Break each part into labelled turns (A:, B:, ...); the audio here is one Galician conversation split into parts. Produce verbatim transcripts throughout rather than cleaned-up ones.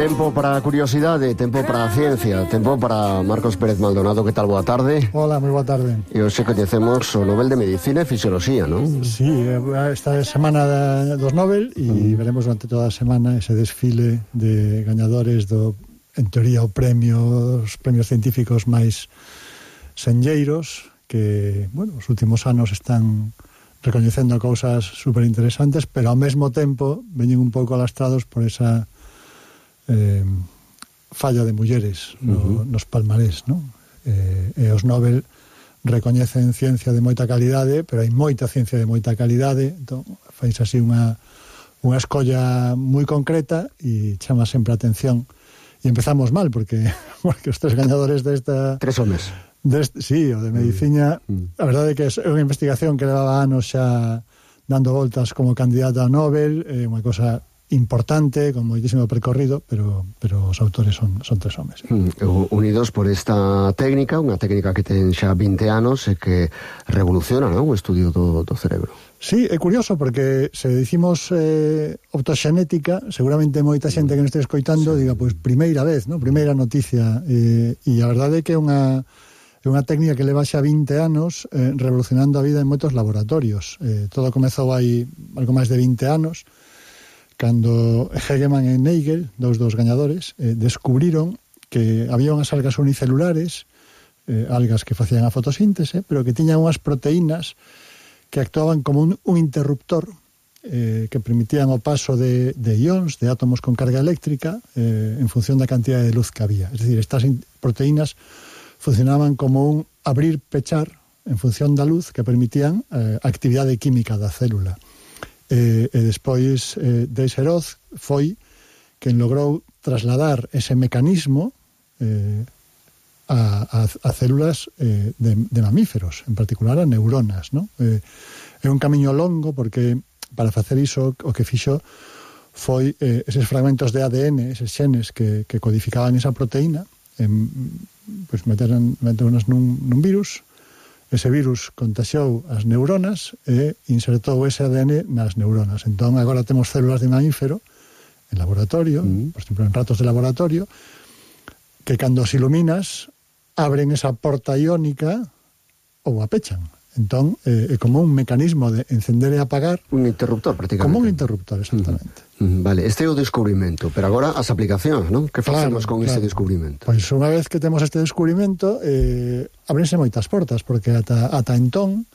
A: Tempo para a curiosidade, tempo para a ciencia, tempo para Marcos Pérez Maldonado. Que tal? Boa tarde.
B: Hola, moi boa tarde.
A: E hoxe coñecemos o Nobel de Medicina e Fisioloxía, non?
B: Sí, esta é semana dos Nobel e mm. veremos durante toda a semana ese desfile de gañadores do, en teoría, o premio, os premios científicos máis senlleiros que, bueno, os últimos anos están recoñecendo cousas super interesantes, pero ao mesmo tempo veñen un pouco alastrados por esa eh, falla de mulleres no, uh-huh. nos palmarés, non? Eh, e os Nobel recoñecen ciencia de moita calidade, pero hai moita ciencia de moita calidade, entón fais así unha unha escolla moi concreta e chama sempre a atención. E empezamos mal, porque, porque os tres gañadores desta...
A: Tres homes.
B: Deste, sí, o de medicina, mm. a verdade é que é unha investigación que levaba anos xa dando voltas como candidata ao Nobel, é unha cosa importante, con moitísimo percorrido, pero, pero os autores son, son tres homes.
A: Mm, unidos por esta técnica, unha técnica que ten xa vinte anos e que revoluciona, non? O estudio do, do cerebro.
B: Sí, é curioso, porque se dicimos eh, optoxenética, seguramente moita xente que nos este escoitando sí. diga, pois, pues, primeira vez, non? Primeira noticia, eh, e a verdade é que é unha é unha técnica que leva xa vinte anos eh, revolucionando a vida en moitos laboratorios. Eh, todo comezou hai algo máis de vinte anos, cando Hegemann e Nagel, dous dos gañadores, eh, descubriron que había unhas algas unicelulares, eh, algas que facían a fotosíntese, pero que tiñan unhas proteínas que actuaban como un, un interruptor eh, que permitían o paso de, de ións, de átomos con carga eléctrica, eh, en función da cantidad de luz que había. Es decir, estas proteínas funcionaban como un abrir-pechar en función da luz que permitían eh, a actividade química da célula. E, e despois eh, Deisseroth foi quen logrou trasladar ese mecanismo eh, a, a, a células eh, de, de mamíferos, en particular a neuronas, ¿no? Eh, é un camiño longo, porque para facer iso o que fixo foi eh, eses fragmentos de A D N, eses xenes que, que codificaban esa proteína, en, pues meteran, meteronas nun, nun virus. Ese virus contaxiou as neuronas e insertou ese A D N nas neuronas. Entón, agora temos células de mamífero en laboratorio, mm. por exemplo, en ratos de laboratorio, que cando os iluminas abren esa porta iónica ou a pechan. Entón, é eh, como un mecanismo de encender e apagar.
A: Un interruptor, prácticamente.
B: Como un interruptor, exactamente.
A: Mm. Vale, este é o descubrimento, pero agora as aplicacións, non? Que facemos
B: claro,
A: con
B: claro.
A: ese descubrimento?
B: Pois unha vez que temos este descubrimento, eh, abrense moitas portas, porque ata, ata entón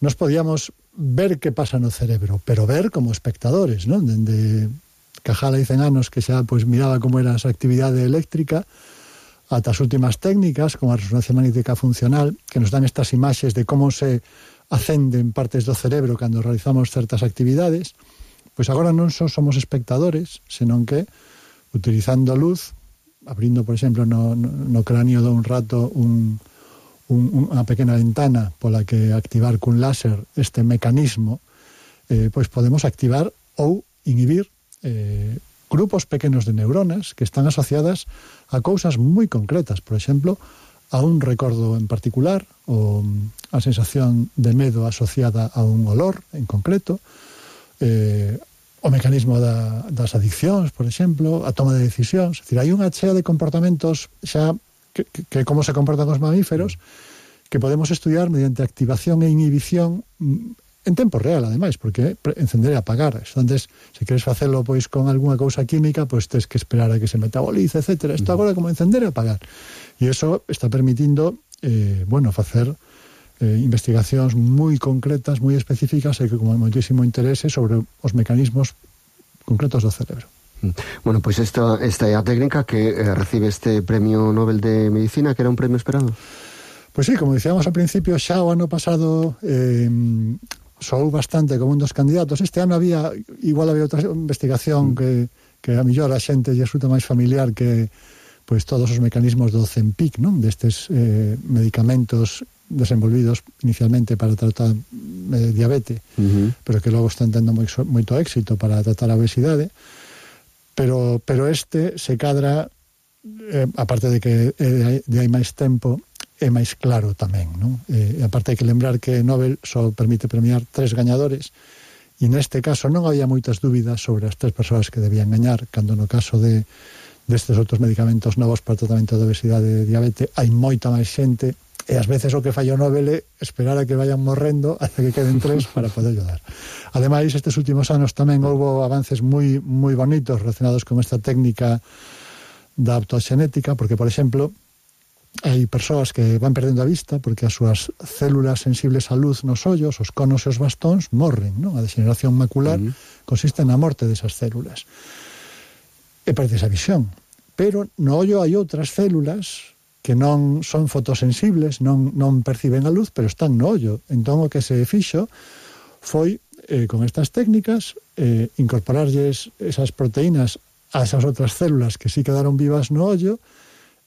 B: nos podíamos ver que pasa no cerebro, pero ver como espectadores, non? Dende Cajal hai cen anos que xa pois miraba como era esa actividade eléctrica, ata as últimas técnicas, como a resonancia magnética funcional, que nos dan estas imaxes de como se acenden partes do cerebro cando realizamos certas actividades. Pois agora non só somos espectadores, senón que, utilizando luz, abrindo, por exemplo, no, no, no cráneo dun rato un, un, unha pequena ventana pola que activar cun láser este mecanismo, eh, pois podemos activar ou inhibir eh, grupos pequenos de neuronas que están asociadas a cousas moi concretas, por exemplo, a un recordo en particular, ou a sensación de medo asociada a un olor en concreto, eh, o mecanismo da, das adiccións, por exemplo, a toma de decisións. Es decir, hai unha chea de comportamentos xa que, que, que como se comportan os mamíferos que podemos estudiar mediante activación e inhibición en tempo real, ademais, porque encender e apagar. Entonces, se queres facelo pois con algunha cousa química, pois tes que esperar a que se metabolice, etcétera. Isto agora é como encender e apagar. E iso está permitindo, eh, bueno, facer eh, investigacións moi concretas, moi específicas e que con moitísimo interese sobre os mecanismos concretos do cerebro.
A: Bueno, pois esta, esta é a técnica que eh, recibe este Premio Nobel de Medicina, que era un premio esperado.
B: Pois sí, como dicíamos ao principio, xa o ano pasado eh, soou bastante como un dos candidatos. Este ano había, igual había outra investigación que, que a mellor a xente lle resulta máis familiar que pois todos os mecanismos do Zempic, non? Destes eh, medicamentos desenvolvidos inicialmente para tratar eh, diabetes, uh-huh. pero que logo están tendo moi, moito éxito para tratar a obesidade. Pero, pero este se cadra, eh, aparte de que eh, de hai máis tempo, é máis claro tamén, non? E, aparte hai que lembrar que Nobel só permite premiar tres gañadores e neste caso non había moitas dúbidas sobre as tres persoas que debían gañar, cando no caso de, destes outros medicamentos novos para o tratamento da obesidade e diabetes, hai moita máis xente, e ás veces o que falla o Nobel é esperar a que vayan morrendo hasta que queden tres para poder ayudar. Ademais, estes últimos anos tamén houve avances moi moi bonitos relacionados con esta técnica da optoxenética, porque, por exemplo, hai persoas que van perdendo a vista porque as súas células sensibles á luz nos ollos, os conos e os bastóns, morren, non? A degeneración macular uh-huh. consiste na morte desas células. E perde esa visión. Pero no ollo hai outras células que non son fotosensibles, non, non perciben a luz, pero están no ollo. Entón, o que se fixo foi, eh, con estas técnicas, eh, incorporarlles esas proteínas a esas outras células que sí quedaron vivas no ollo,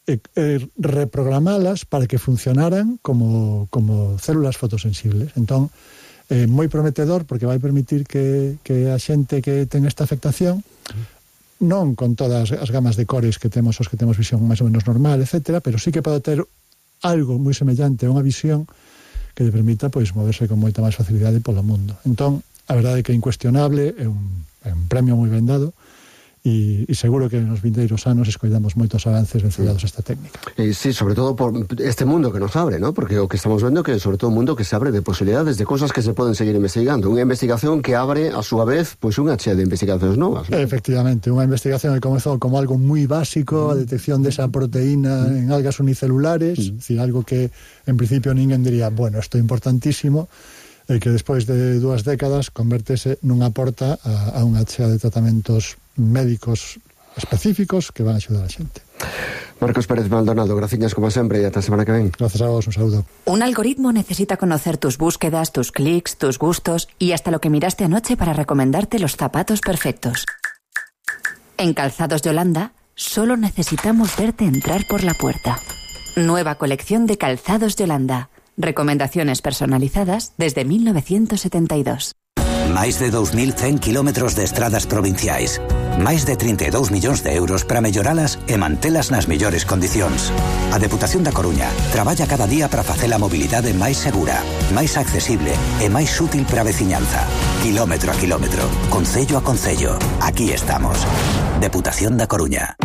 B: e, e reprogramalas para que funcionaran como, como células fotosensibles. Entón, eh, moi prometedor, porque vai permitir que, que a xente que ten esta afectación, non con todas as gamas de cores que temos, os que temos visión máis ou menos normal, etcétera, pero sí que pode ter algo moi semellante a unha visión que lle permita pois moverse con moita máis facilidade polo mundo. Entón, a verdade é que é incuestionable, é un, é un premio moi ben dado, e, e seguro que nos vindeiros anos escoitamos moitos avances vencelados a esta técnica.
A: E sí, sobre todo por este mundo que nos abre, ¿no? Porque o que estamos vendo que é sobre todo un mundo que se abre de posibilidades de cosas que se poden seguir investigando. Unha investigación que abre, a súa vez, pois unha chea de investigacións novas, ¿no?
B: Efectivamente, unha investigación que comezou como algo moi básico, a detección desa proteína en algas unicelulares, mm. decir, algo que en principio ninguén diría, bueno, isto é importantísimo, e que despois de dúas décadas convertese nunha porta a, a unha chea de tratamentos médicos específicos que van a axudar a xente.
A: Marcos Pérez Maldonado, graciñas como sempre e ata a semana que ven.
B: Gracias a vos, un saludo.
C: Un algoritmo necesita conocer tus búsquedas, tus clics, tus gustos y hasta lo que miraste anoche para recomendarte los zapatos perfectos. En Calzados Yolanda, solo necesitamos verte entrar por la puerta. Nueva colección de Calzados Yolanda. Recomendaciones personalizadas desde mil novecientos setenta y dos.
D: Máis de dous mil cen kilómetros de estradas provinciais. Máis de trinta e dous millóns de euros para melloralas e mantelas nas mellores condicións. A Deputación da Coruña traballa cada día para facer a mobilidade máis segura, máis accesible e máis útil para a veciñanza. Kilómetro a kilómetro, concello a concello. Aquí estamos. Deputación da Coruña.